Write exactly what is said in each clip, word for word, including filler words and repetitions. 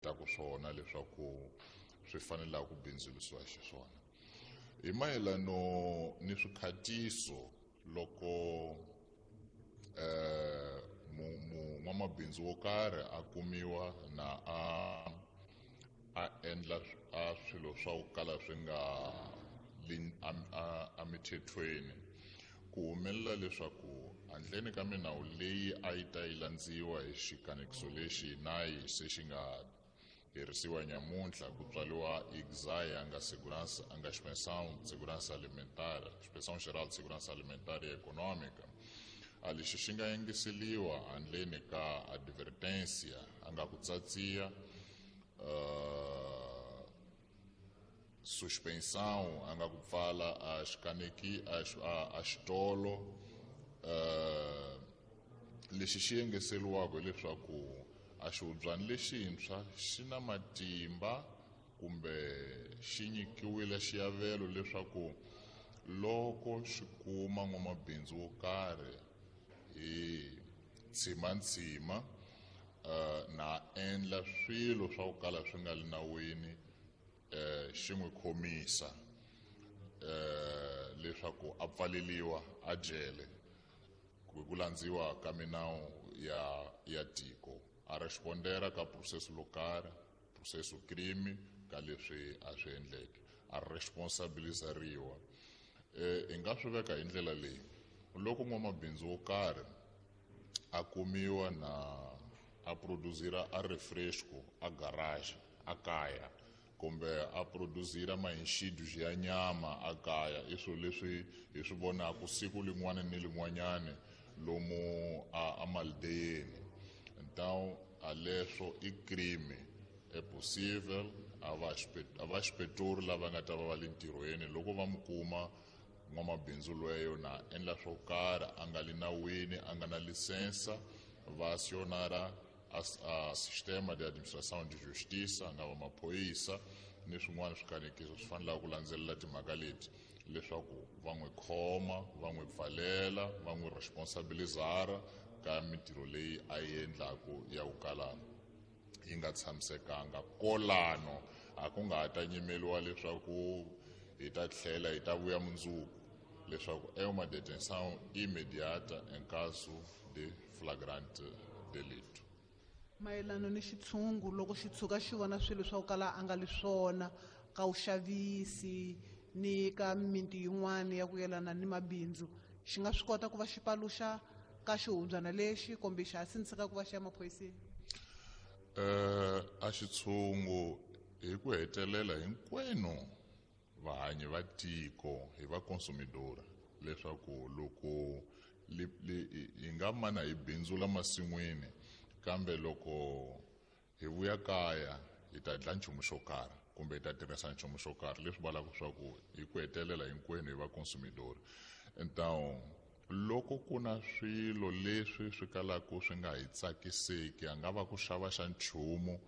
Ku swona leswaku swi fanelaka ku bindzurisiwa xiswona hi mayelano ni swikhatiso loko eh n'wamabindzu wo karhi a kumiwa na a a endla a swilo swa ku kala swi nga emithethweni, ku humelela leswaku handleni ka minawu leyi a yi ta yi landziwa hi xikanekiso lexi na yi se xi nga herisiwa nyamuntlha ku tswariwa I C S A, a nga segurança, a nga Inspeção de Segurança Alimentar, Inspeção Geral de Segurança Alimentar e Econômica, a lexi xi nga yengiseliwa handleni ka advertência, a nga ku tsatsiya, uh, suspensão, a nga ku pfala a xikaneki a, a, a xitolo. uh, lexi xi yengeseliwaka hileswaku a xihubyani lexintshwa xi na matimba kumbe xi nyikiwile xiavelo leswaku loko xi kuma n'wamabindzu wo karhi hi ntshima uh, na endla swilo swa ku kala swi nga li nawini, eh xi n'wi khomisa eh leswaku a pfaleliwa a jele hi ku landziwa ka minawu ya ya tiko, a respondera ka processo lokarhi, processo crime ka leswi a swi endleke, a responsabilizariwa. eh hi nga swi veka hi ndlela leyi: loko n'wamabindzu wo karhi a kumiwa na a produzira a refresco a garage a kaya, kumbe a produzira mainxidu ya nyama a kaya, i swilo leswi hi swi vonaka siku lin'wana ni lin'wanyani lomu a, a maldeyeni, então a leswo i crime. É possível a va a va xipetori lava nga ta va va le ntirhweni, loko va mi kuma n'wamabindzu lweyo na endla swo karhi a nga li nawini, a nga na licensa, va acionara a, a sistema de administração de justiça, a nga va maphorisa ni swin'wana swikanekiso swi fanelaka ku landzelela timhaka leti, leswaku va n'wi khoma, va n'wi pfalela, va n'wi responsabilizara ka mintirho leyi a yi endlaku ya ku kala yi nga tshamisekanga. Kolano a ku nga ha ta nyimeliwa leswaku hi ta tlhela hi ta vuya mundzuku, leswaku é uma detenção imediata em caso de flagrante delito. Mayelana ni xitshungu, loko xi tshuka xi vona swilo swa ku kala a nga li swona ka vuxavisi ni ka miti yin'wana ya ku yelana ni mabindzu, xi nga swi kota ku va xi paluxa ka xihubyana lexi, kumbe xa ha sindziseka ku va xi ya maphoriseni? eh a xitshungu hi ku hetelela hinkwenu vahanyi va tiko hi va consumidora, leswaku loko li, li, hi nga mana hi bindzula masin'wini, kambe loko hi vuya kaya hi ta dla nchumu xo karhi kumbe hi ta tirhisa nchumu xo karhi, leswi vulaka swa ku hi ku hetelela hinkwenu hi va consumidor. Então loko ku na swilo leswi swi kalaka swi nga hi tsakiseki, a nga va ku xava xa nchumu,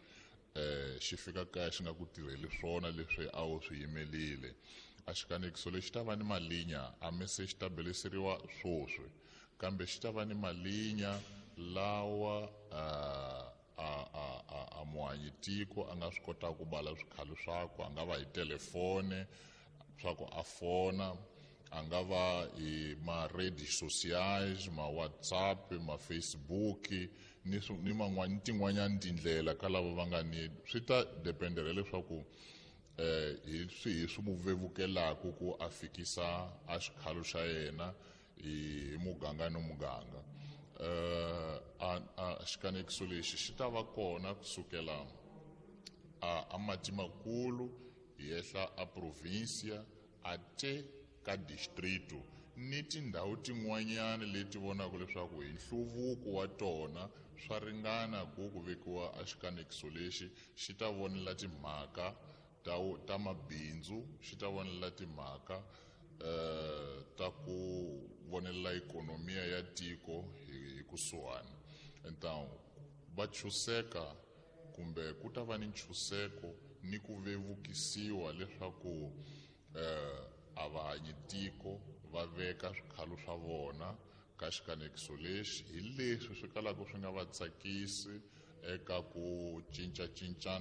eh xi fika kaya xi nga ku tirheli swona leswi a wu swi yimelile, a xikanekiso lexi ta va ni malinya. A mi se xi ta beleseriwa swoswi, kambe xi ta va ni malinya lawa uh, a a a a muhanyi tiko a nga swi kotaka ku bala swikhalo swakwe, a nga va hi telefone swa ku a fona, a nga va hi ma-redes sociais, ma-WhatsApp, ma-Facebook ni ni man'wani tin'wanyani tindlela ka lava va nga ni. Swi ta dependela leswaku eh hi swihi swi mu vevukelaku ku a fikisa a xikhalo xa yena hi muganga ni muganga. eh a, a xikanekiso lexi xi ta va kona kusukela a, a mati makulu hi yehla a provincia ate ka distrito ni tindhawu tin'wanyana leti vonaka leswaku hi nhluvuko wa tona swa ringana ku ku vekiwa a xikanekiso lexi. Xi ta vonela timhaka ta, ta mabindzu, xi ta vonela timhaka eh ta ku vonelela ikonomiya ya tiko hi, hi kusuhani. Então va chuseka kumbe ku ta va ni nchuseko ni ku vevukisiwa leswaku eh a va hanyi tiko va veka swikhalo swa vona ka xikanekiso lexi hi leswi swi kalaka swi nga va tsakisi. eka ku cincacincana